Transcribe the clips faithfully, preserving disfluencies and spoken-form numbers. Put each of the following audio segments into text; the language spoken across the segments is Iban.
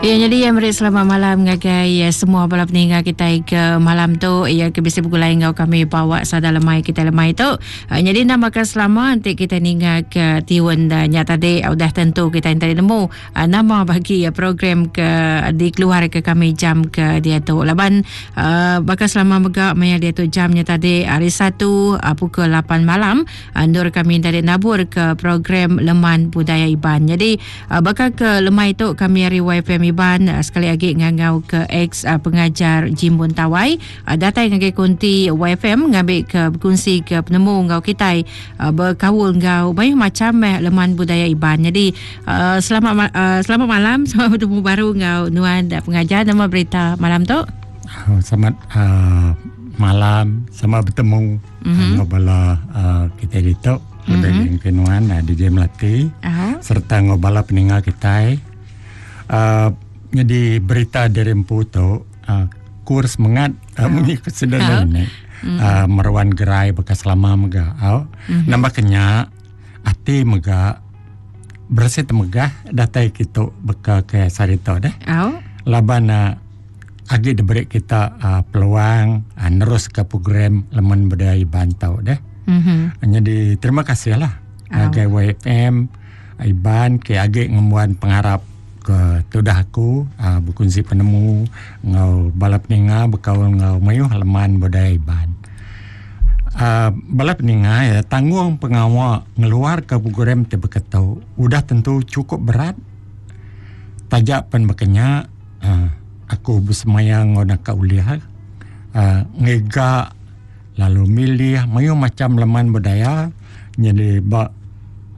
Ya, jadi yang beri selamat malam ngagai ya, semua bala peninggal kita ke malam tu ya ke bisa bergulai ngau kami bawa sada lemai kita lemai tu. Uh, jadi namakan selama nanti kita ninga ke tiun uh, nya tadi uh, udah tentu kita tadi nemu uh, nama bagi uh, program ke dikeluar ke kami jam ke dia tu. Laban uh, bakal selama megak maya dia tu jamnya tadi hari Satu uh, pukul lapan malam uh, nur kami tadi nabur ke program Leman Budaya Iban. Jadi uh, bakal ke lemai tu kami hari Y F M Iban uh, sekali lagi ngangau ke ex uh, pengajar Jimbun Tawai uh, datang ngagai konti Y F M ngambil ke berkongsi ke penemu ngau kita uh, berkaul ngau banyak macam eh, Leman Budaya Iban. Jadi uh, selamat uh, selamat malam, selamat bertemu baru ngau nuan dan pengajar. Nama berita malam tu? Oh, selamat uh, malam, selamat bertemu mm-hmm. ngau bala uh, kita ditok mm-hmm. lebih nuan uh, D J Melati uh-huh. serta ngau bala peninggal kita. Uh, jadi berita dari empu tu uh, kurs mengat uh, munyi kesedaran ni uh, meruan gerai bekas lama mega uh. mm-hmm. Nambah kenyak ati mega bersih temegah datai kita beka ke sarito deh uh. Laban uh, agi diberi kita uh, peluang uh, nerus ke program Leman Budaya Iban tau deh mm-hmm. Jadi terima kasih lah uh. Ke Y F M Iban ke agi ngemuan pengharap ke tudah aku uh, berkongsi penemu ngau bala peninga berkaul ngau mayuh Leman Budaya Iban. Uh, bala peninga ya tanggung pengawal ngeluar ke program te beketau udah tentu cukup berat. Tajak pen bekenya uh, aku bersemayang ngau nak uliah uh, ngega lalu milih mayuh macam leman budaya. Jadi ba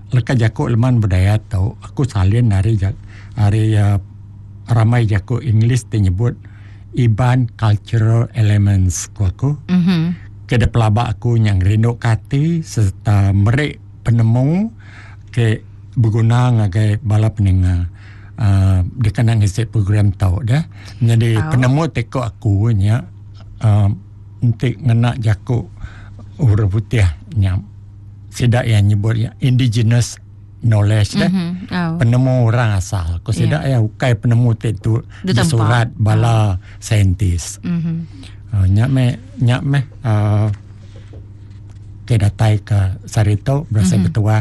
leka jakuk leman budaya tau aku salin dari jak hari uh, ramai jago English te nyebut Iban Cultural Elements ku aku. Mm-hmm. Ke de pelaba aku yang rindu kati serta merik penemu ke berguna ngagai bala peninga. Uh, dia kena ngisi program tau dah. Jadi oh. Penemu teko aku nya uh, untuk ngena jago orang putih nya sidak yang nyebut ya indigenous knowledge deh. Mm-hmm. Oh. Penemu orang asal. Ko sidak yeah. Ya ukai penemu te tu surat bala oh. saintis. Mm-hmm. Uh, nyak me nyak me uh, ke datai ke sarito berasa mm-hmm. betua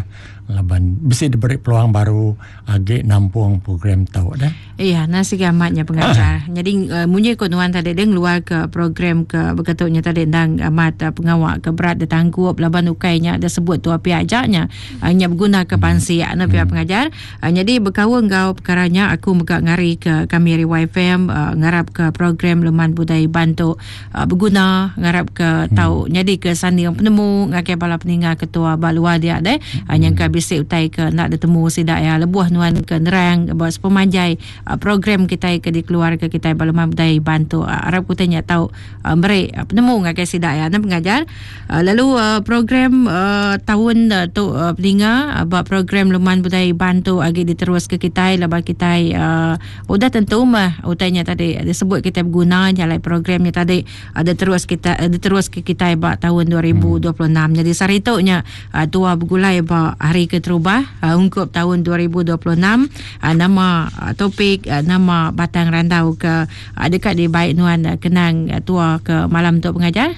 laban bisi diberi peluang baru agi nampung program tau dah. Iya, nasi gamatnya pengajar. Jadi uh, munyi ko nuan tadi dia ngeluar ke program ke berkatutnya tadi ndang amat uh, pengawak ke berat ditanggup laban ukainya ada sebut tu api ajaknya uh, nya berguna ke pansi hmm. Ana pihak hmm. pengajar. Uh, jadi berkaul ngau perkaranya aku megak ngari ke kami dari Y F M uh, ngarap ke program Leman Budaya Iban tu uh, berguna ngarap ke hmm. tau jadi ke sanding penemu ngakai bala peninga ketua balua dia deh uh, yang ke bisik utai ke nak ditemu sidak ya lebuh nuan ke nerang buat sepemanjai uh, program kita ke dikeluar ke kita Leman Budaya Iban tu uh, harap kutanya tahu uh, beri uh, penemu ngakai sidak ya dan pengajar uh, lalu uh, program uh, tahun uh, tu uh, peninga uh, buat program Leman Budaya Iban tu agi diterus ke kita lepas kita uh, udah tentu mah utainya tadi disebut kita berguna jalan programnya tadi ada terus kita uh, diterus ke kita buat tahun dua ribu dua puluh enam. Hmm. Jadi saritunya uh, tua bergulai buat hari keterubah uh, ungkup tahun dua ribu dua puluh enam uh, nama uh, topik uh, nama batang randau ke uh, dekat di baik nuan uh, kenang uh, tua ke malam untuk pengajar.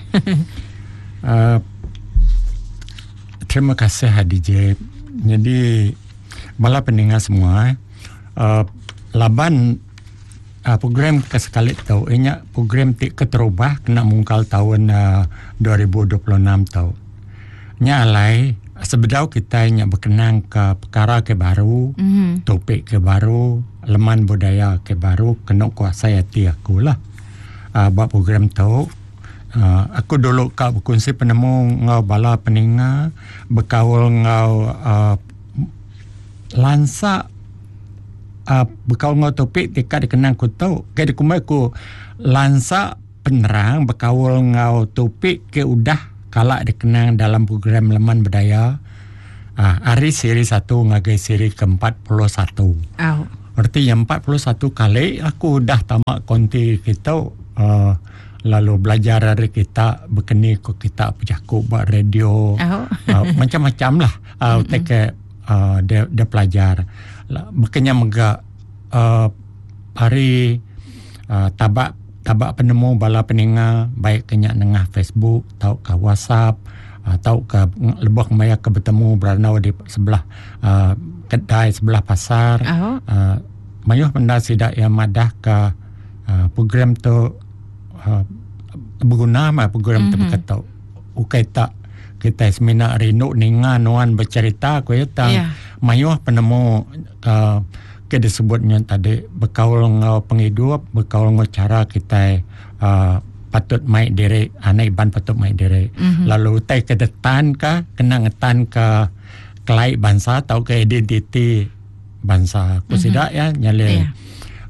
uh, terima kasih D J. Jadi bala pendengar semua uh, laban uh, program kesekali tau inya program tik keterubah kena mungkal tahun uh, dua ribu dua puluh enam tau. Nya alai sebedau kita nya berkenang ke perkara ke baru, mm-hmm. topik ke baru, leman budaya ke baru, kena kuasa hati aku lah. Uh, buat program tu, uh, aku dulu kak berkongsi penemu ngau bala peninga, berkaul ngau uh, lansa uh, berkaul ngau topik dekat dikenang ku tu, ke dikumai ku lansa penerang berkaul ngau topik ke udah kalak dikenang dalam program Leman Budaya uh, hari seri satu ngagai seri ke empat puluh satu. Oh. Artinya empat puluh satu kali aku dah tamat konti kita uh, lalu belajar dari kita berkeni ko kita berjakuk buat radio oh. uh, macam-macam lah uh, mm-hmm. Teke uh, dia, dia pelajar berkenya megak uh, hari uh, tabak tabak penemu bala peninga baik kenya nengah Facebook atau ke WhatsApp atau ke lebuh maya ke bertemu beranau di sebelah uh, kedai sebelah pasar. Oh. Uh, mayuh benda sidak yang madah ke uh, program tu uh, berguna mah program mm-hmm. tu berkata ukai tak kita semina rindu ninga nuan bercerita ku ya tang yeah. mayuh penemu uh, ke disebutnya tadi berkaul ngau penghidup berkaul ngau cara kita uh, patut mai diri anak iban patut mai diri mm-hmm. lalu utai ke detan ka kena ngetan ke kelai bangsa atau ke identiti bangsa ku mm-hmm. sidak ya nyale yeah.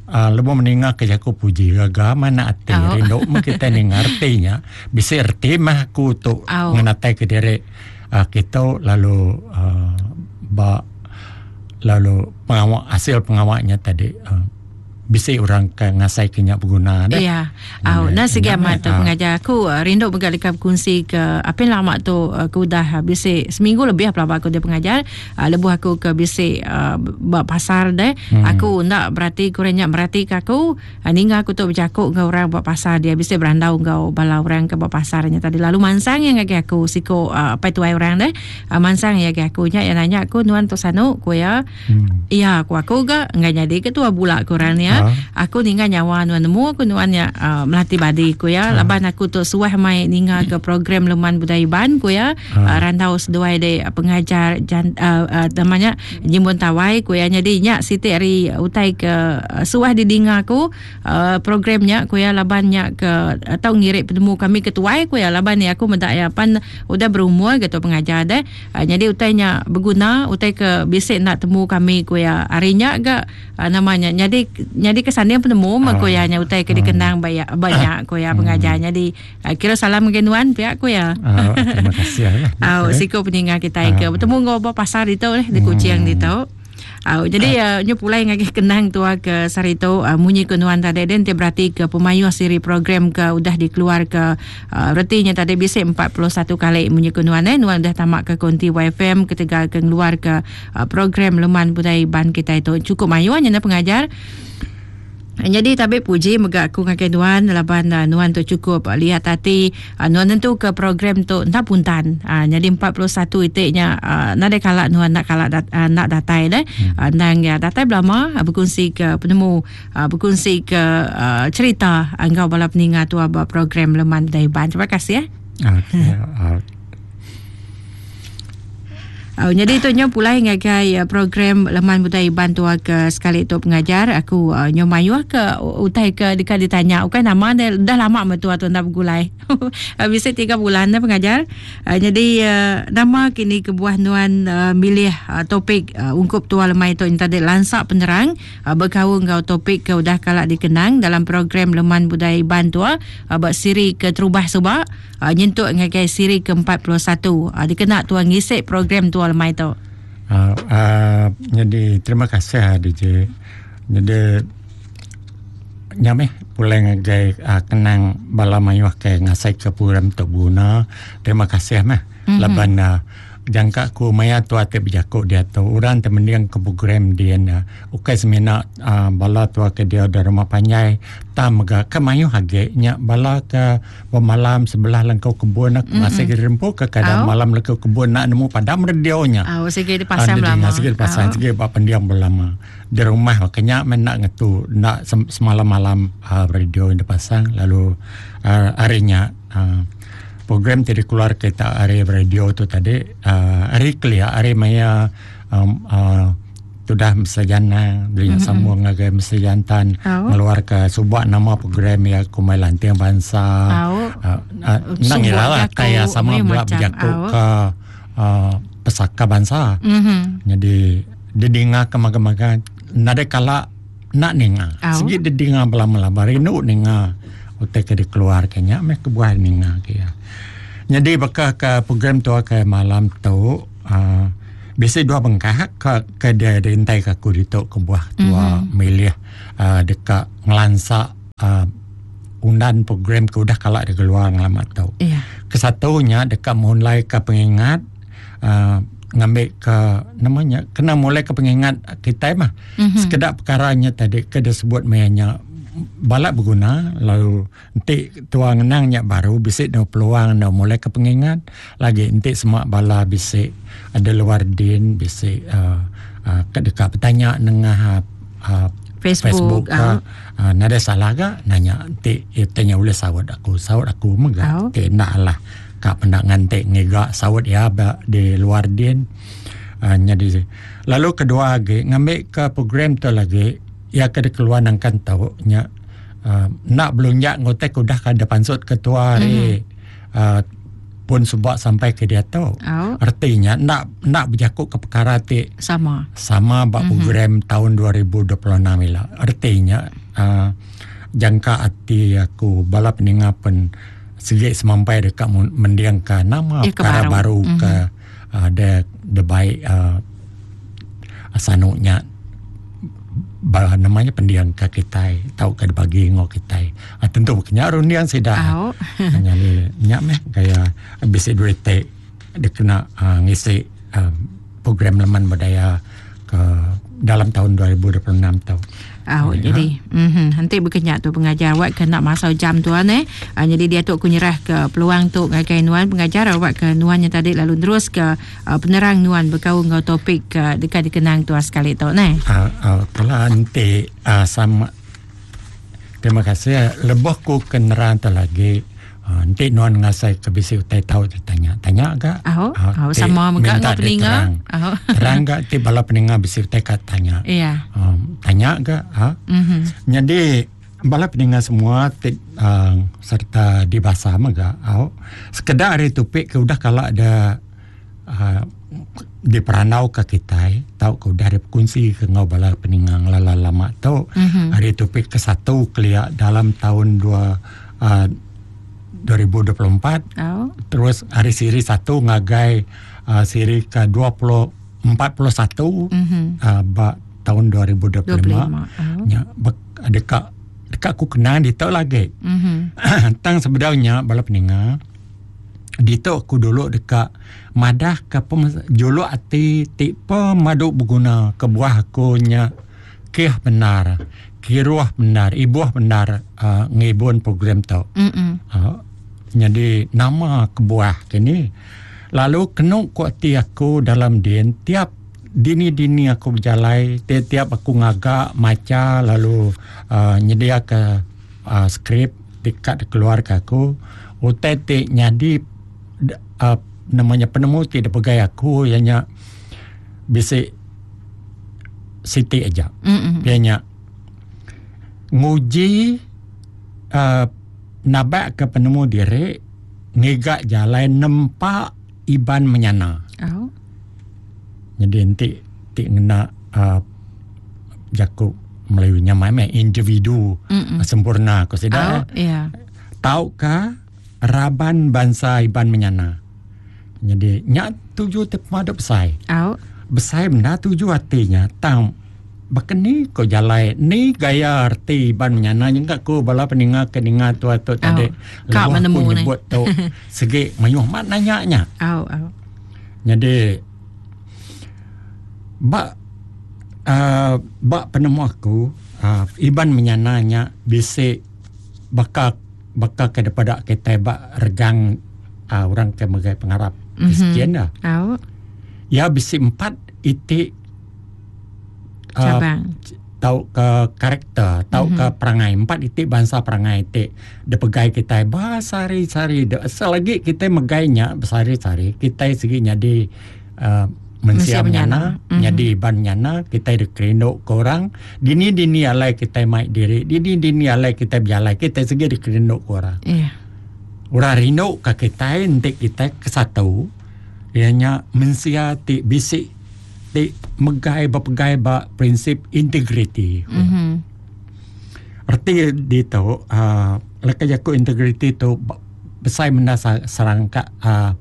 Uh, lebuh meninggal ke jaku puji gaga mana ati oh. rindu mah kita ni ngertinya bisa erti mah aku tu oh. ngenatai ke diri uh, kita lalu uh, ba lalu pengawak hasil pengawaknya tadi uh, bisa orang ke ngasai kenyak berguna dah. Ya. Au nah segi amat tu pengajar aku rindu mega dekat berkongsi ke apa yang lama tu aku dah bisi seminggu lebih apa aku dia pengajar lebuh aku ke bisi ba pasar deh hmm. Aku nak berarti kurangnya berarti ke aku ninga aku tu berjakuk ke orang buat pasar dia bisi berandau ngau bala orang ke buat pasarnya tadi lalu mansang yang ngagi aku siko apa tuai orang deh mansang yang ngagi aku nya yang nanya aku nuan tu sanu ku ya. Hmm. Ya aku aku ga enggak jadi ketua bulak kurang ya. Aku ninga nyawa nuan nemu aku nuan ya uh, melati badi ku ya uh. Laban aku tu suah mai ninga ke program Leman Budaya Iban ku ya uh. uh, rantau seduai de uh, pengajar jan, uh, uh, namanya Jimbun Tawai ku ya jadi nya siti hari utai ke uh, suah didinga aku uh, programnya ku ya laban nya ke atau uh, ngirik penemu kami ketuai ku ya laban ni aku mendak ya pan udah berumur gitu pengajar deh uh, jadi utainya berguna utai ke bisik nak temu kami ku ya harinya ga uh, namanya jadi jadi kesannya penemu mah ku ya nya utai ke dikenang banyak banyak ku ya pengajar. Jadi kira salam ke nuan pihak ku ya. Uh, terima kasih ya. Au siko peninga kita ke bertemu ngau ba pasar itu leh di Kuching itu. Au jadi uh, nyu pulai ngagi kenang tua ke sarito uh, munyi ke nuan tadi den te berarti ke pemayuh siri program ke udah dikeluar ke uh, retinya tadi bisa empat puluh satu kali munyi ke nuan eh nuan dah tamak ke konti Y F M ketegal ke keluar ke uh, program Leman Budaya Iban kita itu cukup mayuhnya na pengajar. Jadi tabi puji mega aku ngagai nuan laban uh, nuan tu cukup uh, lihat hati uh, nuan tentu ke program tu entah puntan uh, jadi empat puluh satu itiknya uh, nadai kalak nuan nak kalak dat, uh, nak datai deh hmm. uh, nang ya datai belama uh, berkongsi ke penemu uh, berkongsi ke uh, cerita engkau bala peninga tu aba program Leman Budaya Iban. Terima kasih ya. Okey. Uh. Uh, jadi tu nyo pulai ngagai uh, program Leman Budaya Iban tua ke sekali tu pengajar aku uh, nyo mayuh ke utai ke dekat ditanya bukan nama dia dah lama metua tu ndak bergulai. Bisa tiga bulan dah pengajar. Uh, jadi uh, nama kini kebuah nuan uh, milih uh, topik uh, ungkup tua lemai tu tadi lansak penerang uh, berkaul ngau topik ke udah kalak dikenang dalam program Leman Budaya Iban tua uh, bak siri ke terubah subak uh, nyentuk ngagai siri ke empat puluh satu uh, dikena tua ngisik program tua lemai tu. Uh, uh, jadi terima kasih D J. Jadi nyameh pulai ngagai uh, kenang bala mayuh ke ngasai ke program tu guna. Terima kasih meh. Mm-hmm. Laban uh, jangka ku maya tu ate berjakuk dia tu orang temendiang ke program dia na ukai semina uh, bala tua ke dia dari rumah panjai ta mega ke mayuh age nya bala ke malam sebelah lengkau kebun nak mm-hmm. masih ke rempu ke kadang oh. malam lengkau kebun nak nemu padam radionya oh segi dipasang lama segi dipasang oh. Segi pak pendiam berlama di rumah makanya men nak ngetu nak semalam-malam uh, radio yang dipasang lalu uh, harinya uh, program tadi keluar kita hari radio tu tadi uh, hari kelia hari maya um, uh, sudah mesejana belinya mm-hmm. sambung ngagai mesejantan oh. ngeluar ke sebuah nama program ya kumai lanting bangsa oh. uh, uh, nang ialah kaya sama belak berjakuk ke uh, pesaka bangsa mm-hmm. Jadi didengar ke maga-maga nade kala nak ninga oh. Segi didengar belama-lama rindu ninga utai ke dikeluar kenya meh kebuah ninga ke ya. Jadi bakal ke program tu ke malam tu uh, biasa dua bengkah ke ke dia rintai ke aku ditok ke buah tua mm-hmm. milih uh, dekat ngelansak uh, undan program ke udah kalak dia keluar ngelama tu. Yeah. Kesatunya dekat mulai ke pengingat uh, ngambil ke namanya kena mulai ke pengingat kita mah. Mm-hmm. Sekedar perkaranya tadi ke disebut mayanya balak berguna lalu nanti tua ngenangnya baru bisik no peluang no mulai ke pengingat lagi nanti semua bala bisik ada luar din bisik uh, uh, dekat bertanya nengah uh, Facebook, Facebook ke uh. Uh, nada salah ke nanya nanti tanya boleh sawat aku sawat aku mega uh. Ti nak lah kak pendak ngantik ngegak sawat ya di luar din uh, jadi lalu kedua lagi ngambil ke program tu lagi ya ke keluar nangkan tau nya uh, nak belunjak ngotek udah kada pansut ketua hari mm-hmm. uh, pun sebab sampai ke dia tu. Oh. Artinya nak nak berjakut ke perkara ti sama sama bab mm-hmm. program tahun dua ribu dua puluh enam ila. Artinya uh, jangka hati aku bala peninga pen segi semampai dekat mendiangkan nama ya, perkara baru, baru mm-hmm. ke uh, de de baik uh, asanuknya bah, namanya pendiang ke kita tahu ke bagi ngok kita ah, tentu kena rundiang sida oh. Hanya ni nyak meh gaya bisi duit te dia kena uh, ngisi uh, program leman budaya ke dalam tahun dua ribu dua puluh enam tau. Oh, ya. Jadi mhm nanti berkenyak tu pengajar awak kena masa jam tuan eh. Ha, jadi dia tu aku nyerah ke peluang tu ngagai nuan pengajar awak ke nuannya tadi lalu terus ke uh, penerang nuan berkaul ngau topik ke uh, dekat dikenang tuan sekali tu neh. Ah uh, uh, kalau nanti uh, sama terima kasih lebih ku kenerang tu lagi. Uh, nanti nuan ngasai ke bisi utai tahu tanya tanya agak oh, uh, oh, sama mega ngau peninga oh. Terang gak ti bala peninga bisi utai kat tanya iya um, tanya agak ha mm-hmm. Jadi bala peninga semua ti, uh, serta di bahasa mega oh. Sekedar hari topik ke udah kalau ada uh, di peranau ke kita tahu ke udah ada kunci ke ngau bala peninga lala lama tu mm-hmm. Hari topik ke satu keliak dalam tahun dua uh, dua ribu dua puluh empat. Oh. Terus hari siri satu ngagai uh, siri ke dua puluh empat puluh satu mm-hmm. uh, ba, tahun dua ribu dua puluh lima. Oh. Ya, dekat dekat aku kenal di tok lagi. Mm-hmm. Tang sebenarnya bala peninga di tok aku dulu dekat madah ke pem, jolok ati ti pemaduk berguna ke buah aku nya kih benar kiruah benar ibuah benar uh, ngibun program tu. Mm-hmm. Uh, jadi nama kebuah kini lalu kena kuat aku dalam din tiap dini-dini aku berjalai tiap-tiap aku ngagak maca lalu uh, nyedia ke uh, skrip dekat keluar ke aku utai ti nyadi uh, namanya penemu ti pegai aku ianya bisi siti aja. Mm-hmm. Ianya nguji uh, nabak ke penemu diri ngegak jalan nempak iban menyana. Oh. Jadi nanti ti ngena uh, jakub Melayu nyamai meh individu Mm-mm. sempurna ko sida. Oh, yeah. Tau ka raban bangsa iban menyana. Jadi nyak tuju te pemaduk besai. Oh. Besai benda tuju hatinya tang bekeni ko jalai ni gaya arti ban menyana jengka ko bala peninga keninga tua tu tadi kak menemu ni nyebut tu segi mayuh mat nanya nya. Au au. Jadi bak uh, bak penemu aku uh, iban menyana nya bisi bakal bakal ke daripada kita bak regang uh, orang ke megai pengarap mm-hmm. Kristian dah. Au. Ya bisi empat itik cabang uh, tau ke karakter tau mm-hmm. ke perangai empat itik bangsa perangai itik de pegai kita basari-sari de selagi kita megainya besari-sari kita segi nyadi uh, mensia menyana mm-hmm. nyadi ban nyana kita de kerinduk ke orang dini-dini alai kita mai diri dini-dini alai kita berjalai kita segi de kerinduk ke orang iya yeah. Orang rindu ke kita entik kita ke satu ianya mensia ti bisik ti megai berpegai ba prinsip integriti. Mm-hmm. Erti di tu uh, leka jaku integriti tu besai menda serangkap uh,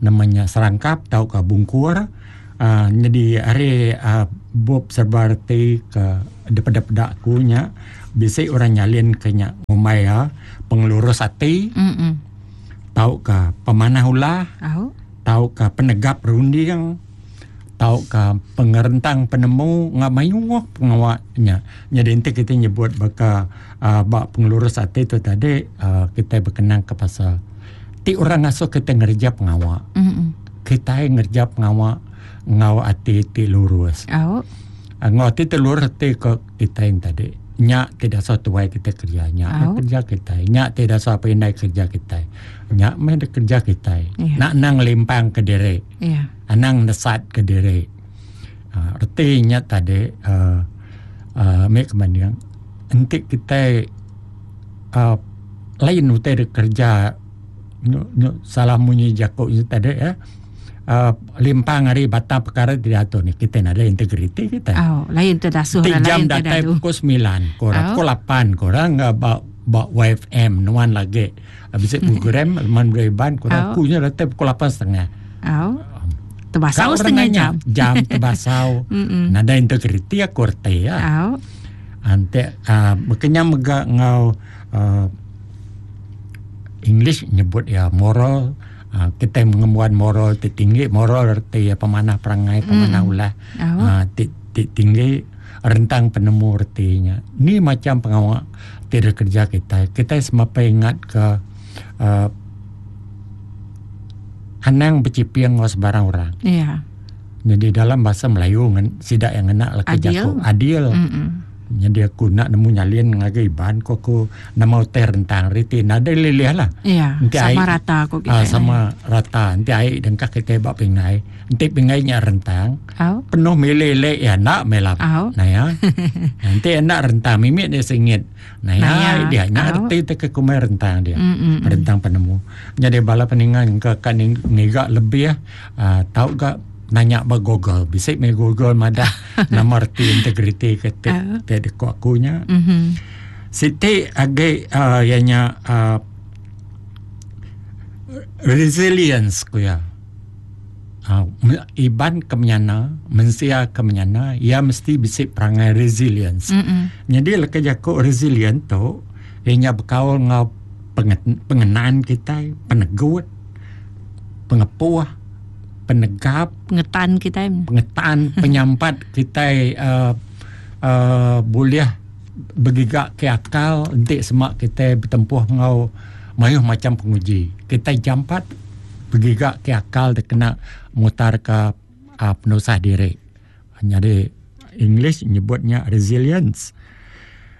namanya serangkap tau ke bungkur uh, jadi hari uh, bob serba erti ke daripada pedak nya bisi orang nyalin ke nya ngumai ya pengelurus hati mm-hmm. tau ke pemanah ulah oh. tau ke penegap runding tau ke pengerentang penemu ngak mayuh pengawaknya. Jadi enti kita nyebut baka uh, bak pengelurus hati tu tadi uh, kita berkenang ke pasal ti orang ngasuh kita ngerja pengawak. Mm-hmm. Kita ngerja pengawak ngau hati ti lurus. Oh. Ngau hati ti lurus ti ke kita yang tadi. Nyak tidak sah tuai kita kerja, nyak oh. kerja kita, nyak tidak sah pindah kerja kita, nyak meh kerja kita. Yeah. Nak nang limpang ke diri. Yeah. Anang nesat ke diri. Uh, artinya tadi uh, uh, mek kemaniang entik kita uh, lain utai kerja nyu, nyu, salah munyi jakok tadi ya. Uh, limpang hari batang perkara tidak atur ni kita ada integriti kita. Oh, lain terdasuh lah, lain jam datai pukul sembilan, korang pukul lapan, korang ba ba Y F M nuan lagi. Habis program man bereban korang oh. Kunya datai pukul lapan setengah. Oh. Terbasau setengah jam. Jam terbasau. Nada integriti aku reti ya. Oh. Ante uh, makanya mega ngau uh, English nyebut ya moral. Uh, kita mengemuan moral ti tinggi, moral erti ya pemanah perangai, pemanah mm. ulah oh. uh, ti, ti tinggi rentang penemu ertinya. Ni macam pengawak tidak kerja kita. Kita semapa ingat ke uh, anang bercipiang ngau sebarang orang. Yeah. Jadi dalam bahasa Melayu ngan sidak yang enak laki adil. Jako adil. Mm-mm. Jadi aku nak nemu nyalin ngagai iban ko aku nama utai rentang riti nada leleh lah. Ya, nanti sama air, rata aku kita. Ah, sama rata. Nanti air dengkak kita bak pingai. Nanti pingainya rentang. Oh. Penuh meleleh ya nak melap. Oh. Nah ya. Nanti nak rentang mimik dia sengit. Nah ya, nah ya. Dia nak oh. reti te ke kumai rentang dia. Mm-mm. Rentang penemu. Jadi bala peningan ke kan ngigak lebih uh, tahu gak nanya ba Google, bisik me Google madah nama erti integriti ke te uh. te deko akunya. Mm-hmm. Siti age uh, ianya uh, resilience ku ya. Uh, iban kemenyana, mensia kemenyana, ia mesti bisik perangai resilience. Mm-mm. Jadi leka jako resilient tu ianya berkaul ngau pengenaan kita, penegut, pengepuah, penegap, pengetan kita, pengetan, penyampat kita uh, uh, boleh bergigak ke akal untuk semak kita bertempuh ngau mayuh macam penguji. Kita jampat bergigak ke akal dia kena mutar ke uh, penusah diri. Jadi English nyebutnya resilience.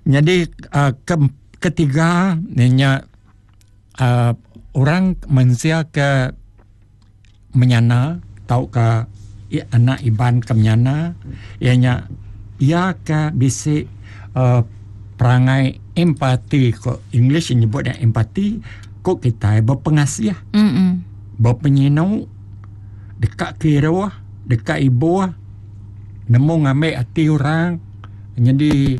Jadi uh, ke, ketiga nya uh, orang manusia ke menyana tau ke anak iban ke menyana ianya ia ke bisik uh, perangai empati ko English nyebutnya empati ko kita berpengasih mm berpenyinau dekat kira dekat ibu nemu ngambil hati orang. Jadi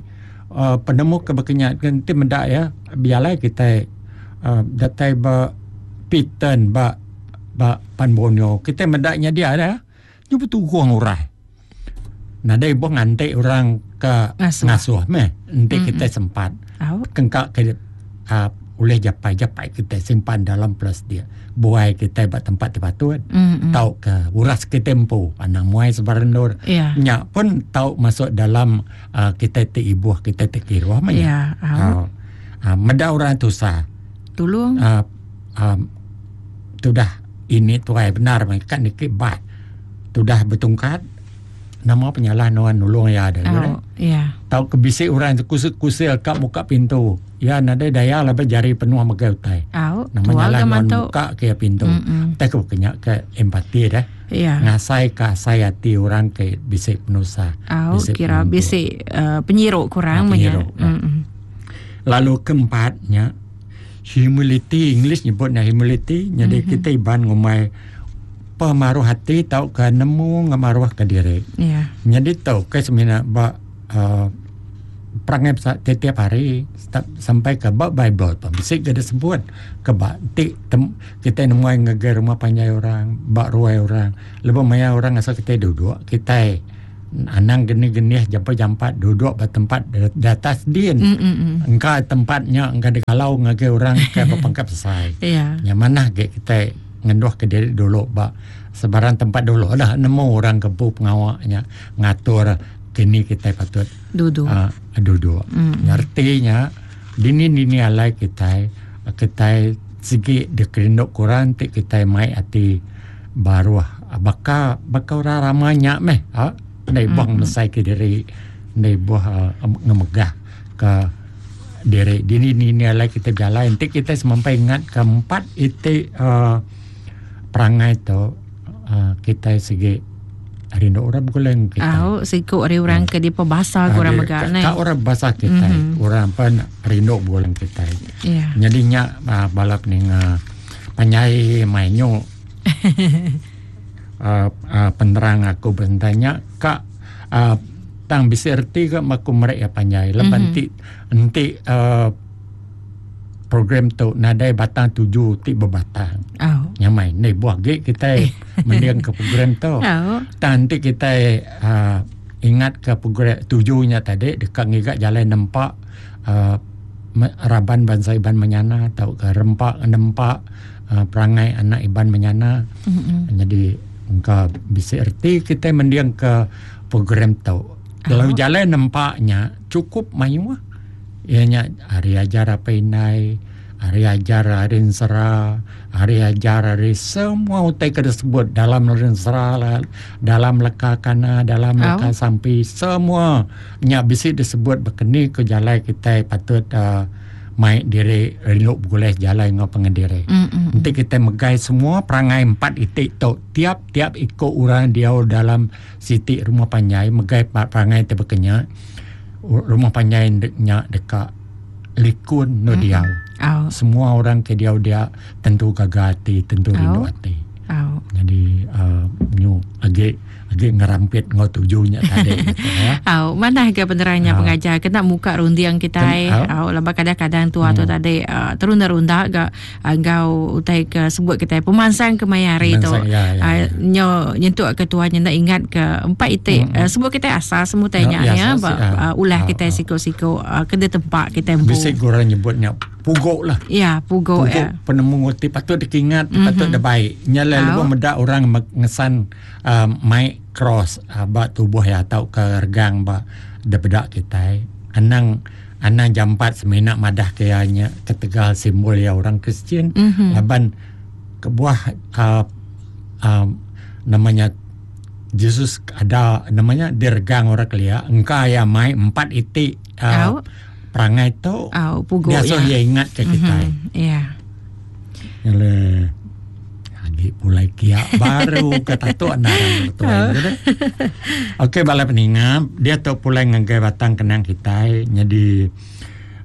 uh, penemu keberkenyat nanti mendak ya biarlah kita uh, datai ba piten ba ba Pan Borneo kita mendaknya dia ada dia berturung orang nada ibu ngantik orang ke ngasuh, ngasuh meh nanti mm-hmm. kita sempat oh. kengkak ke uh, oleh japai-japai kita simpan dalam plus dia buai kita buat tempat terpatut mm-hmm. tau ke uras kita empu anak muai sebarang yeah. nyak pun tau masuk dalam uh, kita te ibu kita te kiruah mah ya yeah. oh. uh, meda orang tusah tolong uh, um, tu dah ini tuai benar kan dikit bat tu dah bertungkat nama penyalah nuan nulung ya ada oh, ya tau kebisik orang kusil-kusil kat muka pintu ya nada daya lah jari penuh megai utai oh, nama nyalah nuan muka ke pintu tak ke kenyak ke empati dah ya ngasai kasai hati orang ke bisik penusa oh, bisik kira penuntuk. Bisik uh, penyiruk kurang ha, penyiruk, ya. Lalu keempatnya humility, English nyebutnya humility. Jadi mm-hmm. kita iban ngumai pemaruh hati tau ke nemu ngemaruh ke diri. Yeah. Jadi tau ke semina ba uh, perangai tiap hari sampai ke bab Bible pun bisik ke disebut ke bak ti tem, kita nemu ngegai rumah panjai orang, bak ruai orang, lebih maya orang asal kita duduk, kita anang geni-geni jampat-jampat duduk ba tempat di atas din. Mm-mm. Engka tempatnya engka dikalau ngagai orang ke berpangkat selesai. Yeah. Yang mana ke kita ngenduh ke diri dulu ba sebarang tempat dulu lah nemu orang kebu pengawaknya ngatur kini kita patut duduk uh, duduk mm. Artinya dini-dini alai kita kita segi dikerinduk kurang ti kita mai ati baruh baka baka orang ramanya meh ha ndai buang mm. mesai ke diri ndai buah uh, ngemegah ke diri dini-dini alai kita berjalan nanti kita semampai ingat ke empat itik uh, perangai tu uh, kita segi rindu orang bergulung kita. Oh, siku ari orang ke di pebasa ke orang mega ne. Ka orang bahasa kita, mm-hmm. orang pan rindu bergulung kita. Yeah. Jadi nya uh, balap ninga panyai mainyo. uh, uh, penerang aku bertanya ka uh, tang bisa erti ke maku merek ya panjai. Lepas mm-hmm. enti uh, program tu nadai batang tuju ti berbatang. Oh. Nyamai ni buah gig kita mendiang ke program tu. Oh. Tang nanti kita uh, ingat ke program tujunya tadi dekat ngigak jalan nempak uh, raban bangsa Iban menyana atau ke rempak nempak uh, perangai anak Iban menyana. Mm-hmm. Jadi engka bisa erti kita mendiang ke program tu. Kalau oh. jalan nempaknya cukup mayuh. Ianya hari ajar apa inai, hari ajar hari sera, hari ajar hari semua utai ke disebut dalam sera, dalam leka kana, dalam leka oh. sampi, semua nya bisi disebut berkeni ke jalan kita patut uh, mai diri rindu bergulai jalan ngau pengendiri. Mm-hmm. Nanti kita megai semua perangai empat itik tu tiap-tiap ikut orang dia dalam siti rumah panjai megai perangai terbekenya rumah panjai nya dekat likun no mm-hmm. diau. Oh. Semua orang ke diau dia tentu gagal hati, tentu rindu oh. hati. Oh. Jadi uh, nyu agak agak ngerampit ngau tujunya tadi gitu ya. Oh, mana ke penerangnya oh. pengajar kena muka rundiang kita oh. oh lamba kadang-kadang tua hmm. tu tadi uh, terunda-runda ga ngau utai ke sebut kita pemansang ke mayari tu. Ya, ya, uh, ya. Nyo nyentuk ke tuanya nak ingat ke empat itik hmm. uh, sebut kita asal semua tanya ya, ya, asas, uh, ulah oh, kita oh. siko-siko uh, kena tempat kita empu. Bisik orang nyebutnya pugok lah. Ya, pugok, pugok ya. Penemu ti patut dikingat, mm-hmm. patut dah baik. Nyala oh. lebuh medak orang ngesan uh, mai cross uh, ba tubuh ya atau ke regang ba debedak kita. Anang anang jampat seminak madah kayanya ketegal simbol ya orang Kristian. Mm-hmm. Laban kebuah uh, uh, namanya Jesus ada namanya diregang orang kelia engka ya mai empat itik uh, oh. perangai tu oh, pugok dia so ya. Dia ingat ke kita. Mm-hmm. Ya. Nyale lagi pulai kia baru ke tatuk narang betul. Oh. Okey bala peninga, dia tu pulai ngagai batang kenang kita. Jadi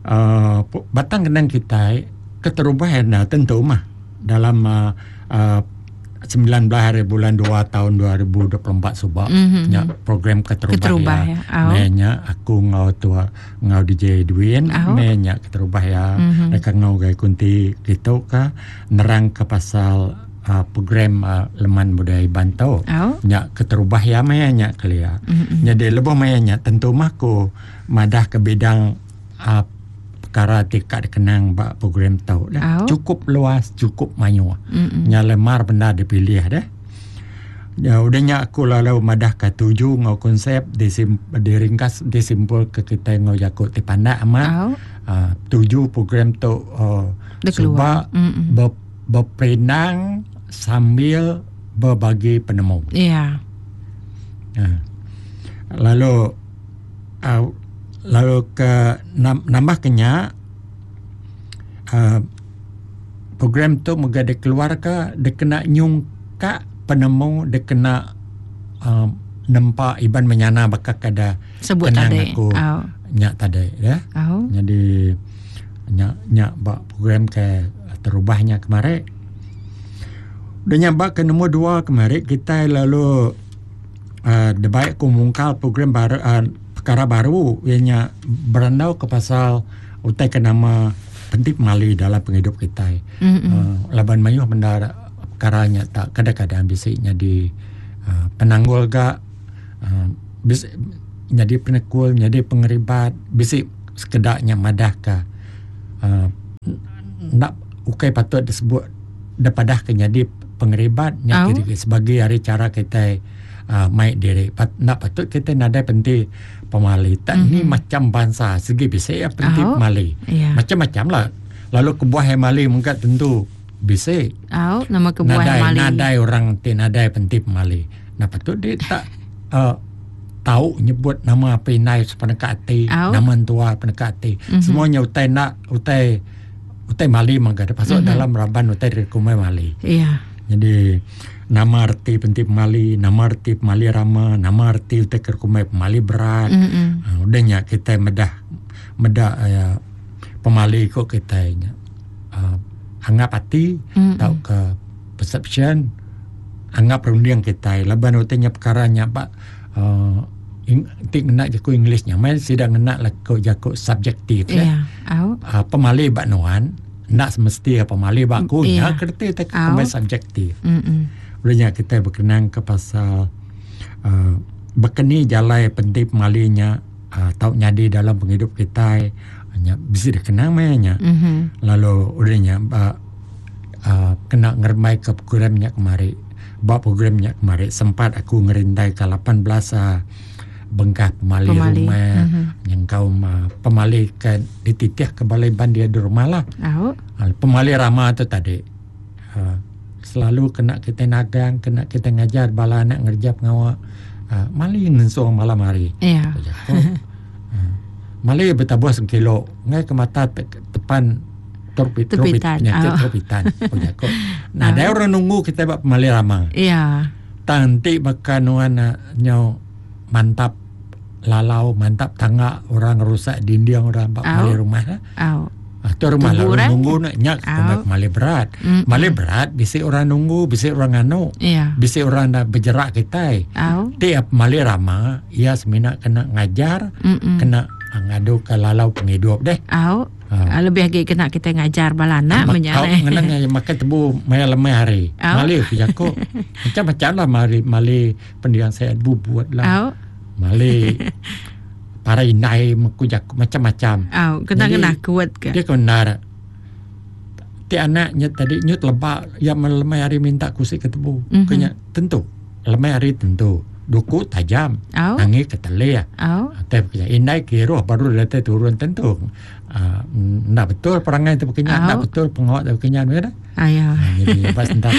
uh, batang kenang kita keterubah nah tentu mah dalam uh, uh, sembilan belas hari bulan dua tahun dua ribu dua puluh empat subak mm-hmm. nya program keterubah, keterubah ya. ya. Oh. Menya aku ngau tua ngau D J Edwin oh. menya keterubah ya. Mm-hmm. Mereka ngau gai kunti gitu ka nerang ke pasal uh, program uh, leman budaya Bantau. Oh. Nya keterubah ya menya kelia. Mm-hmm. Nya de lebuh menya tentu mah ku madah ke bidang uh, perkara tikat dikenang bak program tau dah. Oh. Cukup luas, cukup mayu. Mm-mm. Nya lemar benda dipilih dah. Ya udah nya aku lalu madah ke tuju ngau konsep disim, diringkas disimpul ke kita ngau jakut ti pandak amat. Oh. Uh, tuju program tu uh, sebab ber, berperinang sambil berbagi penemu. Ya. Yeah. Uh. Lalu uh, lalu ke nambah kenya uh, program tu moga dia keluar ke dia kena nyungkak penemu dia kena uh, nempak Iban menyana bakal kada sebut tadi aku oh. nyak tadi ya. Oh. Jadi nyak nyak bak program ke terubahnya kemarin. Dia nyabak ke nombor dua kemarin kita lalu uh, debaik ku mungkal program baru uh, perkara baru ianya berandau ke pasal utai ke nama penting mali dalam penghidup kita. Mm-hmm. Uh, laban mayuh benda perkaranya tak kadang-kadang bisiknya di uh, penanggul gak uh, bisik jadi penekul, jadi pengeribat, bisik sekedaknya madah ke uh, nak ukai patut disebut dapadah ke jadi pengeribat nya oh. Sebagai hari cara kita uh, mai diri. Pat, nak patut kita nadai penti pemali. Tak mm-hmm. ni macam bangsa segi bisa ya penti oh. pemali. Yeah. Macam-macam lah. Lalu kebuah mali mungkin tentu bisa. Oh, nama kebuah nadai, mali. Nadai orang ti nadai penti pemali. Nah patut dia tak uh, tahu nyebut nama apa inai sepeneka hati, oh. nama tua peneka hati. Mm-hmm. Semuanya utai nak utai utai mali mangga pasal mm-hmm. dalam raban utai rekumai mali. Iya. Jadi nama arti penti pemali, nama arti pemali rama, nama arti utai rekumai pemali berat. Mm-hmm. Uh, udahnya kita medah medah uh, pemali kok kita nya. Uh, anggap hati mm-hmm. tau ke perception anggap runding kita laban utainya perkara nya pak uh, ing, ti ngena jaku Englishnya mai sida ngena laku jaku subjektif ya. Yeah. Uh, pemali bak nuan nak semesti pemali bak aku yeah. nya kerti tak kemai subjektif. Mm-mm. Ulnya kita berkenang ke pasal uh, berkeni jalai penting pemalinya uh, tau nyadi dalam penghidup kita nya bisi dikenang mainnya. Mm-hmm. Lalu ulnya uh, uh, kena ngermai ke programnya kemari. Bak programnya kemari sempat aku ngerintai ke lapan belas uh, bengkah pemali, pemali. Rumah mm-hmm. yang kaum uh, pemali ke dititih ke balai ban dia di rumah lah. Oh. Uh, pemali ramah tu tadi uh, selalu kena kita nagang, kena kita ngajar bala anak ngerja pengawak uh, mali ngensuang malam hari. Yeah. Uh, mali bertabuh sengkilo ngai ke mata te- tepan torpit tepitan oh. Torpitan. Oh, jako. Nah, ada orang nunggu kita buat pemali ramah. Iya. Tanti bahkan nuan nyo mantap lalau mantap tangga orang rusak dinding orang bak mali rumah lah. Oh. Ah, tu rumah lah orang nunggu nak nyak oh. Mali berat. Mm-mm. Mali berat bisi orang nunggu, bisi orang anu. Yeah. Bisi orang dah berjerak kita. Oh. Tiap mali ramah ia semina kena ngajar, Mm-mm. kena ngadu ke lalau penghidup deh. Oh. Ha. Lebih lagi kena kita ngajar balana menyalai. Ngenang makan tebu maya lemai hari. Oh. Mali aku macam-macam lah mali mali pendiang saya bubuat lah. Oh. Mali para inai meku jaku macam-macam. Oh, kena kena kuat ke. Dia kena. Ti anaknya tadi nyut lebak yang lemai hari minta kusik ke tebu. Mm-hmm. Kena tentu. Lemai hari tentu. Duku tajam, oh. Nangis ketele ya. Oh. Tapi indai kiruh baru dia turun tentu. Uh, nak betul perangai tu berkenaan, oh. nak betul pengawak tu berkenaan, betul? Ayo. Uh, jadi bas tentang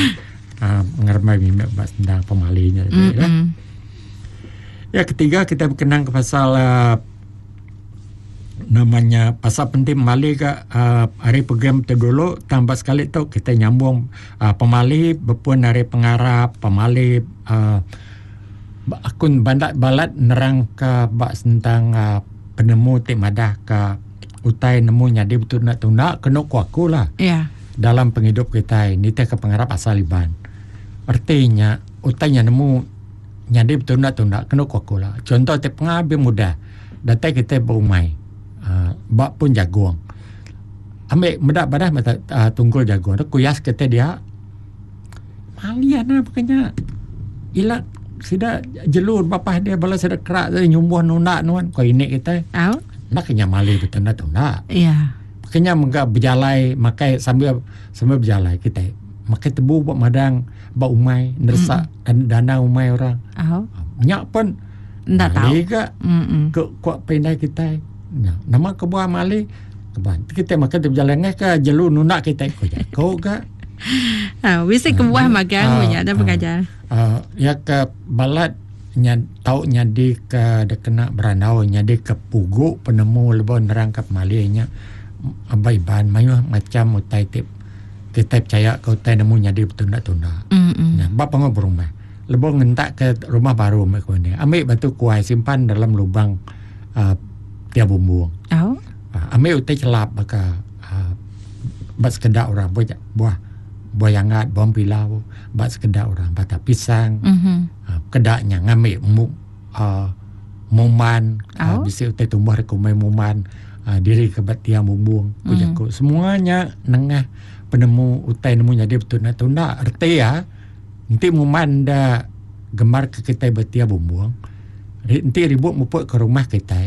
uh, ngermai mimpi bas tentang pemalinya. Mm-hmm. Ya. Ya ketiga kita berkenang ke pasal uh, namanya pasal penting pemali ke uh, hari program tu dulu tambah sekali tu kita nyambung uh, pemali berpun hari pengarap pemali uh, akun bandak balat nerang ke bak tentang uh, penemu tik madah ke utai nemu nyadi betul nak tunda kena ku aku lah. Yeah. Dalam penghidup kita ini teh ke pengarap asal iban. Artinya utainya nemu nyadi betul nak tunda kena ku aku lah. Contoh teh pengabi mudah. Datai kita berumai. Uh, bak pun jagung. Ambil medak badah mata uh, tunggul jagung. Kuyas kita dia. Malian lah bukannya. Ilak sida jelur bapah dia bala sida kerak tu nyumbuh nundak nuan kau ini kita. Oh. Nak kena mali betul nak tunda. Iya. Kena mengga berjalai makai sambil sambil berjalai kita. Makai tebu buat madang, buat umai, nersak mm. dana umai orang. Oh. Nyak pun ndak tahu. Ke ke kuat pandai kita. Nah, nama kebuah mali keban. Kita makan tu berjalan ke jelur nundak kita kau jago ke. Ah, wis kebuah makan punya ada pengajar. Uh, ya ke balat nya tau nyadi ke de kena berandau nyadi ke pugu penemu lebo nerang ke pemalinya abai ban mayuh macam utai tip kita percaya ke utai nemu nyadi betunda-tunda. Mm-hmm. Nah, bab pengo berumah. Lebo ngentak ke rumah baru mek ni. Ambil batu kuai simpan dalam lubang uh, tiap bumbung. Oh. Uh, ambil utai celap baka uh, bak sekedak orang buah buah buah yangat, buah pilau, bak sekedak orang bata pisang. Mm-hmm. Uh, kedaknya ngambil mu, uh, muman, oh. uh, bisi utai tumbuh rekumai muman, uh, diri ke bat tiang bumbung, mm. mm. Semuanya nengah penemu utai nemu jadi betul nak tunda erti ya. Nanti muman dah gemar ke kita bertia bumbung. Nanti ribut mupuk ke rumah kita.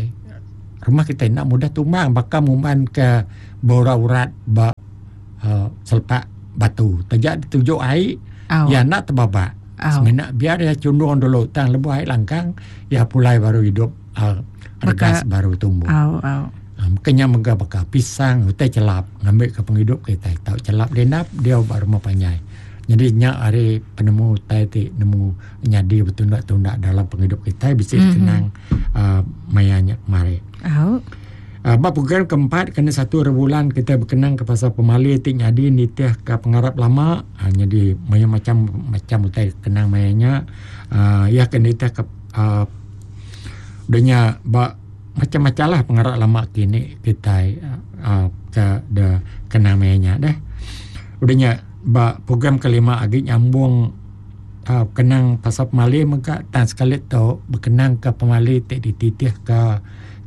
Rumah kita nak mudah tumbang bakal muman ke borak urat ba uh, selepak batu. Tajak ditujuk air Oh. Ya nak terbabak. Oh. Semina biar dia cundung dulu tang lebuh ai langkang ya pulai baru hidup uh, regas baru tumbuh. Oh, oh. Um, kenya mega baka pisang utai celap ngambil ke penghidup kita tahu celap dia dia baru rumah panjai. Jadi nyak hari penemu utai ti nemu nyadi bertunda-tunda dalam penghidup kita bisa mm-hmm. kenang uh, mayanya kemari. Oh. Uh, bab program keempat kena satu bulan kita berkenang ke pasal pemali ti nyadi nitih ke pengarap lama uh, jadi maya macam macam utai kenang mayanya uh, ya kena nitih ke uh, udahnya bab macam-macam lah pengarap lama kini kita uh, ke de kenang mayanya deh. Udahnya bab program kelima agi nyambung uh, kenang pasal pemali mega tan sekali tu berkenang ke pemali ti dititih ke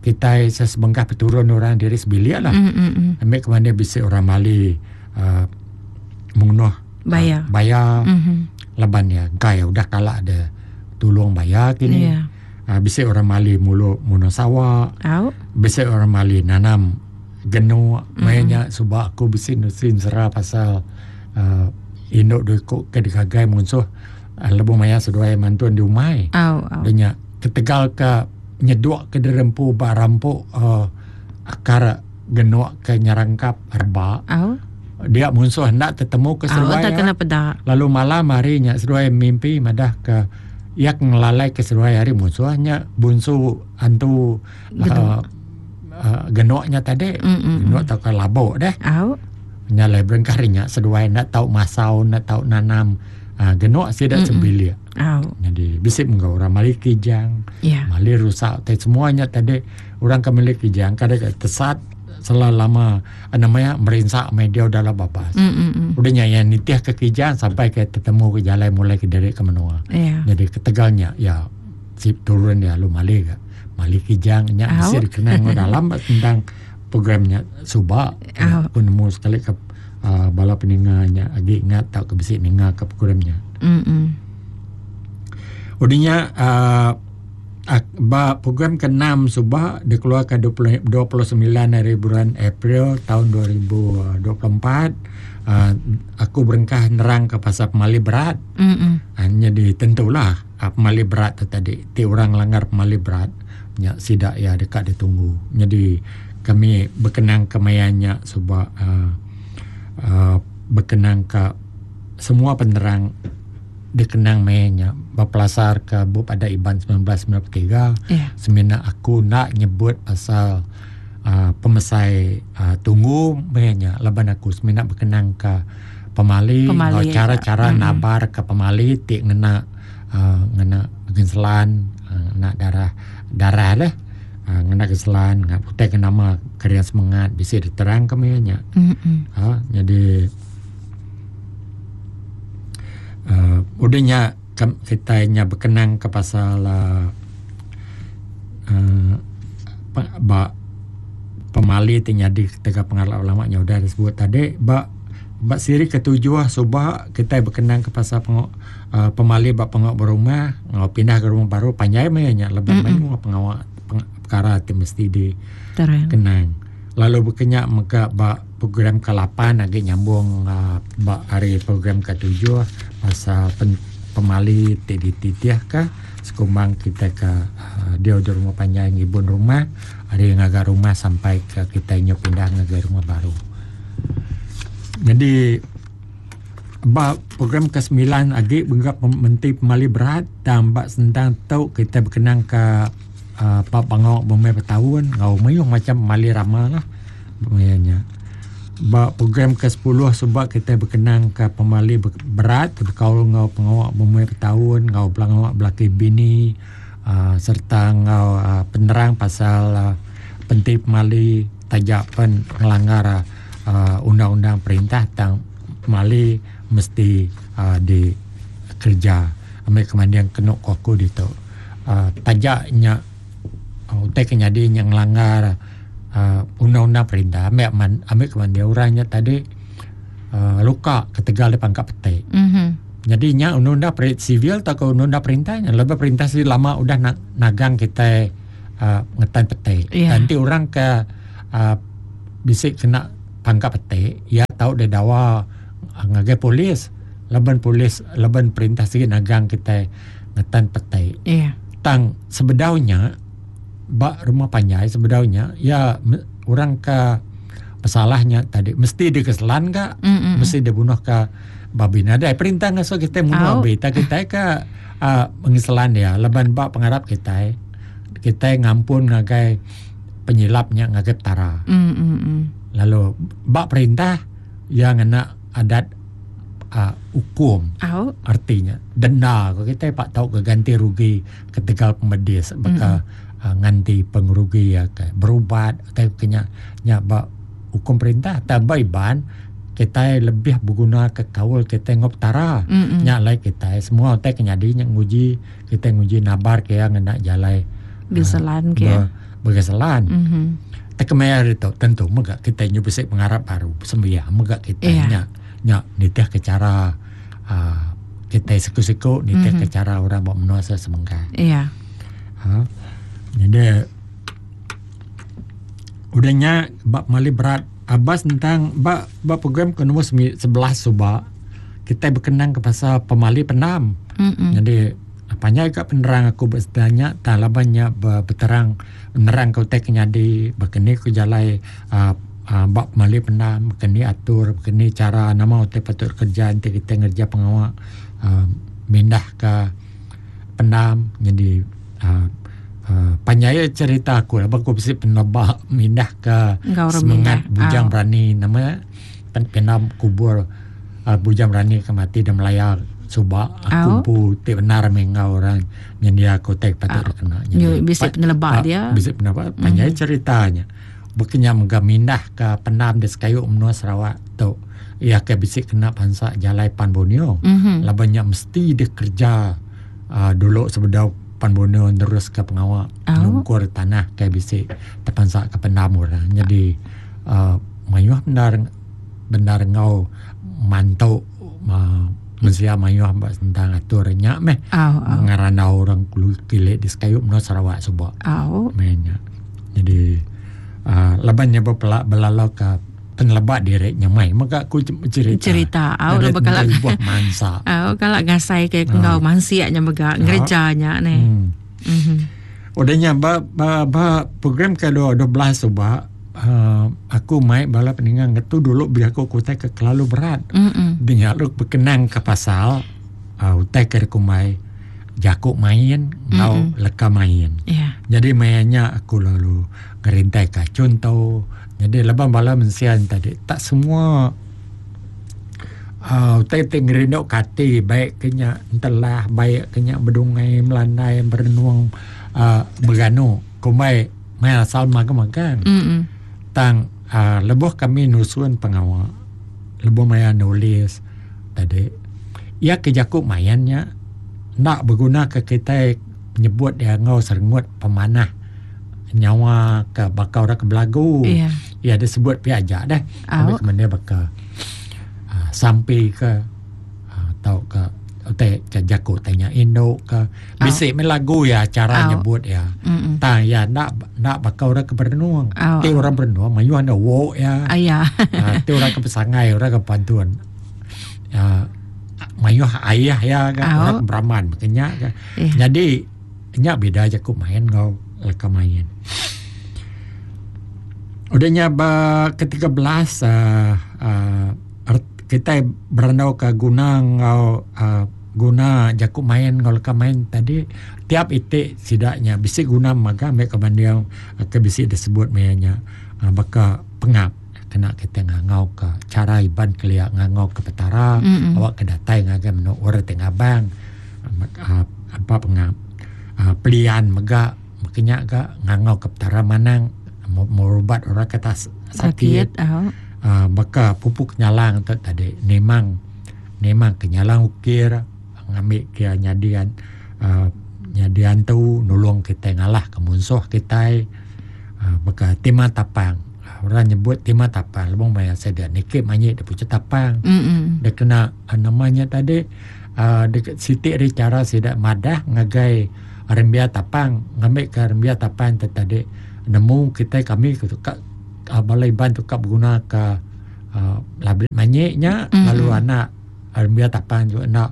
kita sesebengkah peturun orang diri sebilik lah. Mm, mm, mm. Ambil ke mana bisa orang Mali uh, mengunuh bayar. Uh, bayar mm-hmm. Laban ya gaya udah kalah ada tolong bayar kini. Yeah. Uh, bisa orang Mali mulu munuh sawah. Oh. Bisa orang Mali nanam genuk. Mm-hmm. Mainnya sebab aku bisa nusin serah pasal uh, induk duit ke digagai musuh uh, lebuh maya seduai mantuan di umai. Oh, oh. Denya ketegal ke nyeduk ke derempu ba rampuk uh, akar genuk ke nyerangkap herba. Oh. Dia musuh hendak tetemu ke seruai. Oh, tak kena pedak. Lalu malam harinya seruai mimpi madah ke yak ngelalai ke seruai hari musuhnya bunsu antu uh, uh, genuknya tadi. Mm-mm. Genuk atau ke labuk deh. Oh. Nyalai berengkarinya seduai nak tahu masau nak tahu nanam uh, genuk sidak sebilik. Oh. Jadi bisik menggau orang mali kijang, yeah. mali rusak, tadi semuanya tadi orang ke mali kijang kadang tesat selama namanya merinsak media dalam babas. Mm-mm. Udah nyanyi nitih ke kijang sampai ke ketemu ke jalan mulai ke derek ke menua. Yeah. Jadi ketegalnya ya sip turun ya lu mali ke mali kijang nya oh. bisik dikenang dalam tentang programnya subak. Oh. Aku nemu sekali ke uh, bala peninganya agi ingat tak ke bisik ninga ke programnya. Mm-mm. Udinya uh, ba program keenam subah dikeluarkan dua puluh sembilan hari bulan April tahun dua ribu dua puluh empat. Uh, aku berengkah nerang ke pasal pemali berat. Mm-mm. Hanya ditentulah uh, pemali berat tu tadi. Ti orang langgar pemali berat nya sidak ya dekat ditunggu. Jadi kami berkenang kemayanya subah uh, uh, berkenang ke semua penerang dikenang mainnya berpelasar ke bup ada Iban sembilan belas sembilan puluh tiga. Yeah. Semina aku nak nyebut pasal uh, pemesai uh, tunggu mainnya laban aku semina berkenang ke pemali, pemali cara-cara ya. Nabar ke pemali ti ngena uh, ngena genselan uh, ngena darah darah lah uh, ngena genselan ngena putih ke nama karya semangat bisa diterang ke mainnya. Mm-hmm. Uh, jadi Uh, udahnya kita nya berkenang ke pasal uh, uh, ba pemali ti nyadi ketika pengarap ulama nya udah disebut tadi ba ba siri ketujuh subah kita berkenang ke pasal pengok, uh, pemali ba pengok berumah ngau pindah ke rumah baru panjai nya lebih mm-hmm. main pengawak peng, perkara ti mesti di terang kenang. Lalu berkenyak mega ba program ke lapan lagi nyambung uh, ba hari program ke tujuh pasal pen, pemali ti dititih ke sekumbang kita ke uh, dia di rumah panjang ngibun rumah hari ngagar rumah sampai ke kita nyo pindah ngagar rumah baru. Jadi ba program ke sembilan lagi benggap menteri pemali berat dan bak sentang tau kita berkenang ke Uh, Pak Bangok bumai bertahun ngau mayuh macam mali ramah lah mayanya. Ba program ke sepuluh sebab kita berkenang ke pemali berat berkaul ngau pengawak bumai bertahun ngau belangawak belaki bini uh, serta ngau uh, penerang pasal uh, penting pemali tajak pen ngelanggar uh, undang-undang perintah tentang pemali mesti uh, di kerja ambil kemandian kenuk aku ditu uh, tajaknya utai kenyadi yang langgar uh, undang-undang perintah ambil man, ambil kemandian orangnya tadi uh, luka ketegal dia pangkat petik. Mm-hmm. Jadi nya undang-undang sivil atau ke undang-undang perintahnya lebih perintah sih lama udah na- nagang kita uh, ngetan petik. Yeah. Nanti orang ke uh, bisik kena pangkat petik, ya tahu dia dawa ngagai polis. Laban polis, laban perintah sikit nagang kita ngetan petai. Iya. Tang sebedaunya bak rumah panjai sebedaunya ya orang ke pesalahnya tadi mesti dikeselan ka, mm-hmm. mesti dibunuh ke babi. Nada perintah ngaso kita bunuh babi, tak kita ke uh, mengeselan dia. Laban bak pengarap kita, kita ngampun ngagai penyilapnya ngagai petara. Mm-hmm. Lalu bak perintah yang ngena adat uh, hukum. Oh. Artinya denda kalau kita pak tahu ke ganti rugi ketegal pemedis baka mm-hmm. uh, nganti pengerugi ya ke berubat atau kena nya bak hukum perintah tambah iban kita lebih berguna ke kaul kita ngop tara mm-hmm. nya lai kita semua utai kenyadi nya nguji kita nguji nabar ke yang ngena jalai geselan ke uh, bergeselan mm-hmm. Tekemaya itu tentu mega kita nyu bisik pengarap baru sembiang mega kita yeah. nya nya nitih ke cara uh, kita siku-siku nitih mm-hmm. ke cara orang buat menua semengka. Iya. Ha. Jadi udahnya bab mali berat abas tentang bab bab program ke nombor sebelas suba kita berkenang ke pasal pemali penam. Mm-hmm. Jadi apanya agak penerang aku bertanya tak labannya berterang penerang kau tek nyadi berkeni ku jalai uh, uh, bab mali penam berkeni atur berkeni cara nama utai patut kerja nanti kita ngerja pengawak uh, mindah ke penam jadi uh, uh, panjai cerita aku lah aku mesti penebak mindah ke semangat bujang oh. berani nama pen, penam kubur uh, bujang berani ke mati dan melayar subak aku oh. pu ti benar mengau orang nyendia aku tek patut oh. kena jadi bisa penelebak dia bisa penelebak panjai mm. ceritanya berkenya mega mindah ke penam di sekayu menua Sarawak tu ia ke bisik kena pansak jalai Pan Borneo mm-hmm. labannya mesti dia kerja uh, dulu sebedau Pan Borneo terus ke pengawak oh. nungkur tanah ke bisik terpansak ke penam orang jadi uh, mayuh benar benar ngau mantu uh, mensia mayuh mbak tentang aturnya meh oh, oh. ngarana orang kulu kilik di sekayu menua Sarawak subak oh. mainnya jadi uh, labannya berpelak belalau ke penelebak diri nyamai maka aku cerita cerita au oh, bakal buah mansa au kalau ngasai ke ngau mansiaknya mega ngerjanya ne hmm. Mhm udahnya ba, ba, ba program ke dua belas subak Uh, aku mai bala peningang ngetu dulu biar aku kutai ke kelalu berat. Mm-mm. Dia lu berkenang ke pasal uh, utai ke kumai jakuk main ngau leka main. Yeah. Jadi mainnya aku lalu ngerintai ke contoh. Jadi leban bala mensian tadi tak semua uh, utai te ngerindok kati baik kenya entelah baik kenya berdungai melandai berenung uh, berganu kumai main asal makan-makan. Mm-mm. Tang uh, lebuh kami nusun pengawak lebuh maya nulis tadi ia kejakuk mayannya nak berguna ke kita menyebut dia ngau serengut pemanah nyawa ke bakau orang ke belagu yeah. Ia ada sebut pi ajak dah oh. Ambil ke bakal uh, sampai ke uh, tau ke te jakuk tanya induk ke bisik oh. lagu ya cara oh. nyebut ya Mm-mm. Tang ya nak nak bakau orang ke berenung oh. Ti orang berenung mayu ada wo ya oh, ya uh, ti orang ke pesangai orang ke pantun uh, mayu ayah ya kan oh. orang ke beraman makanya kan yeah. Jadi nya beda jakuk main ngau leka main udahnya ba ke tiga belas uh, uh, kita berandau ke guna ngau uh, guna jakuk main ngau leka main tadi tiap itik sidaknya bisik guna maga mek kebanding ke bisik disebut mayanya uh, baka pengap kena kita ngangau ke cara iban keliak ngangau ke petara mm-hmm. Awak ke datai ngagai menuk orang tengah bang uh, apa pengap uh, pelian mega makanya ga ngangau ke petara manang merubat orang kata sakit, sakit oh. Uh, maka pupuk nyalang tu tadi memang memang kenyalang ukir ngambil ke nyadian uh, nyadian tu nolong kita ngalah ke musuh kita uh, maka tema tapang orang nyebut tema tapang lebong maya saya dia nikip manyik dia pucuk tapang mm-hmm. Dia kena uh, namanya tadi uh, dekat sitik dari cara sidak madah ngagai rembia tapang ngambil ke rembia tapang tu tadi nemu kita kami ke uh, balai ban tu kap guna ke uh, label manyiknya mm-hmm. Lalu anak Biar tapan juga nak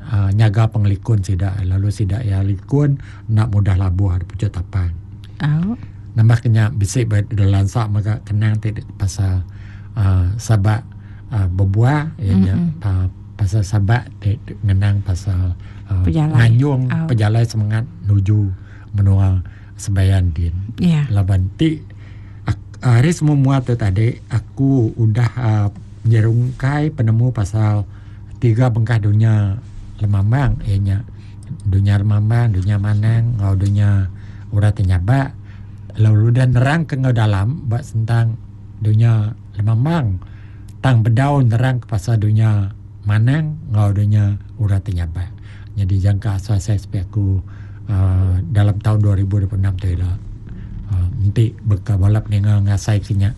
uh, nyaga pengelikun sida lalu sida ya likun nak mudah labuh ada pucuk tapan. Oh. Nambah kenya bisik berlansak maka kenang ti pasal uh, sabak uh, berbuah ianya mm-hmm. uh, pasal sabak ti ngenang pasal uh, nganyung oh. Pejalai semangat nuju menua sebayan din. Yeah. Laban ti hari semua muat tu tadi aku udah uh, nyerungkai penemu pasal tiga bengkah dunia lemambang ianya dunia lemambang, dunia manang, ngau dunia urat nyabak. Lalu dah nerang ke ngau dalam bak tentang dunia lemambang tang bedau nerang ke pasal dunia manang ngau dunia urat nyabak. Jadi jangka asal saya sepi aku uh, dalam tahun dua ribu dua puluh enam tu lah. Uh, nanti bekal balap ninga ngasai kenya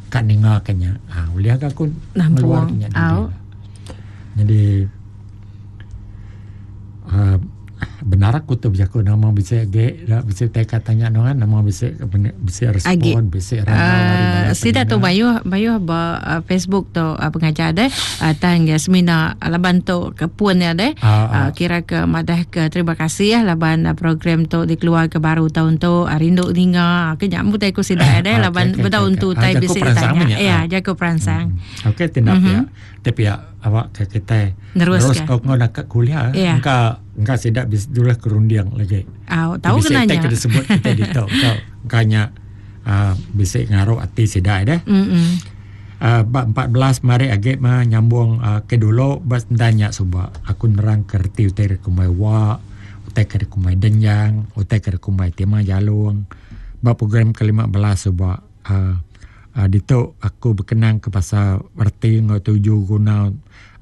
kat ninga kenya. Ah boleh aku ngeluar kenya. Jadi uh, benar aku tu berjakut nama bisa ge bisa teka tanya nuan nama bisa bisa respon bisa uh, sida tu bayu bayu ba uh, Facebook tu uh, pengajar deh uh, tang ya semina laban tu ke puan ya deh uh, uh. Kira ke madah ke terima kasih ya laban uh, program tu dikeluar ke baru tahun tu uh, rindu ninga ke nyambut aku sida deh laban bertahun tu tai bisa tanya ya jago perangsang. Okey tindak ya tapi ya awak ke kita terus kau nak ke kuliah engkau engkau tidak bisa dulu kerundiang lagi. Ah, tahu kenanya. Bisa disebut kita di tahu kau kanya uh, bisa ngaruh ati sidak dah. Mm-mm. Uh, bab empat belas mari age mah nyambung uh, ke dulu bas tanya suba aku nerang kerti utai kumai wa utai ke kumai denjang utai ke kumai tema jalung. Bab program ke lima belas suba uh, uh, dito aku berkenang ke pasal erti ngau tuju guna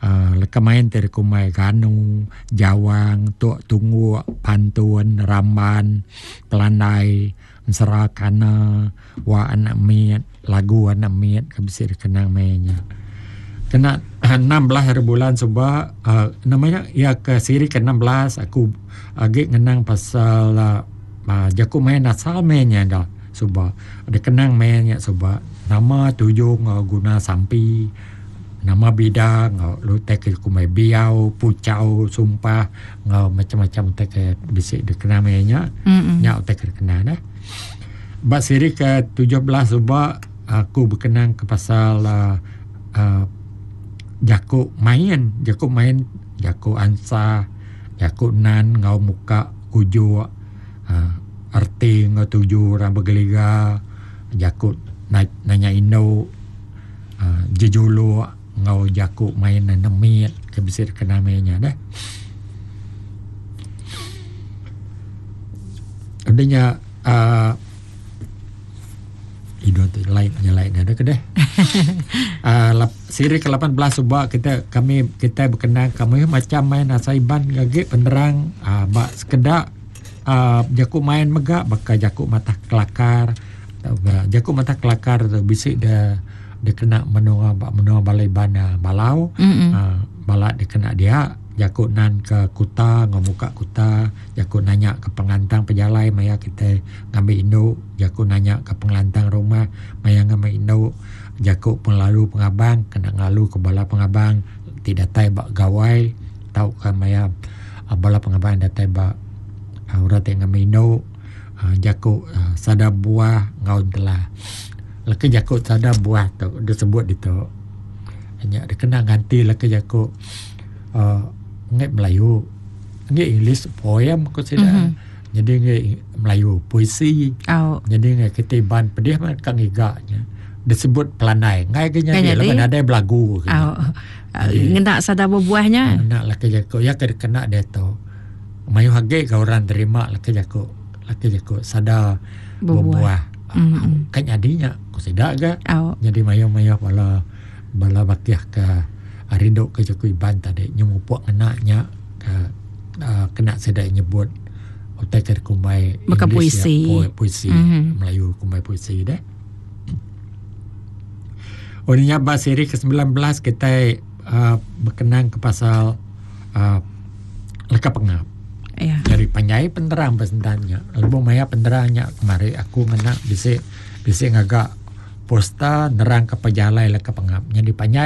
uh, leka main terkumai ganu, jawang, tok tunggu, pantun, ramban, pelandai, serakana, wa anak miat, lagu anak miat ke kenang mainnya. Kena enam belas hari bulan sebab uh, namanya ya ke siri ke enam belas aku agak ngenang pasal uh, jaku main asal mainnya dah sebab ada kenang mainnya sebab nama tujuh guna sampi nama bidang ngau lu tek kumai biau pucau sumpah ngau macam-macam tek bisik dikenal mainnya nya tek kenal dah. Bab siri ke tujuh belas sebab aku berkenang ke pasal uh, uh, jakuk main, jakuk main, jakuk ansa, jakuk nan ngau muka kujuk uh, arti ngau tuju orang bergeliga, jakuk na, nanya indo uh, jejuluk ngau jakuk main nemit ke bisir kena mainnya dah. Adanya uh, idon tu lain lain ada ke deh. Uh, siri ke lapan belas sebab kita kami kita berkenaan kami macam main asaiban gagik penerang uh, bak sekedak uh, jakuk main megak bakal jakuk mata kelakar jakuk mata kelakar tu bisik dia dia kena menua bak menua balai bana balau uh, balak dia kena dia jakuk nan ke kuta ngomuka kuta jakuk nanya ke penglantang pejalai maya kita ngambil induk jakuk nanya ke penglantang rumah maya ngambil induk jakuk penglalu pengabang kena ngalu ke bala pengabang tidak tai bak gawai tau ke maya bala pengabang datai bak urang tengah ngambil induk jakuk sada buah ngaun telah laki jakuk sada buah tu dia sebut di tu hanya dia kena ganti laki jakuk uh, ngai Melayu ngai English poem aku sida mm-hmm. Jadi ngai Melayu puisi oh. Jadi ngai ketiban pedih mah kang igaknya disebut pelandai ngai ke nya laban ada belagu oh. Ngena sada buahnya ngena laki jakuk ya kena dia tu mayu hage ka orang terima laki jakuk laki jakuk sada buah mm-hmm. Kan jadinya aku sida ga oh. Jadi mayu-mayu bala bala bakiah ke rindu ke jaku Iban tadi nyemupuk kenaknya ke uh, kena sedai nyebut utai ke kumbai Maka puisi ya, puisi mm-hmm. Melayu kumbai puisi deh. Oh ni bah siri ke sembilan belas kita uh, berkenang ke pasal uh, leka pengap. Yeah. Jadi panjai penerang pesentannya. Lebuh maya penerangnya kemari aku ngena bisik bisik ngagak posta nerang ke pejalai leka pengap. Jadi panjai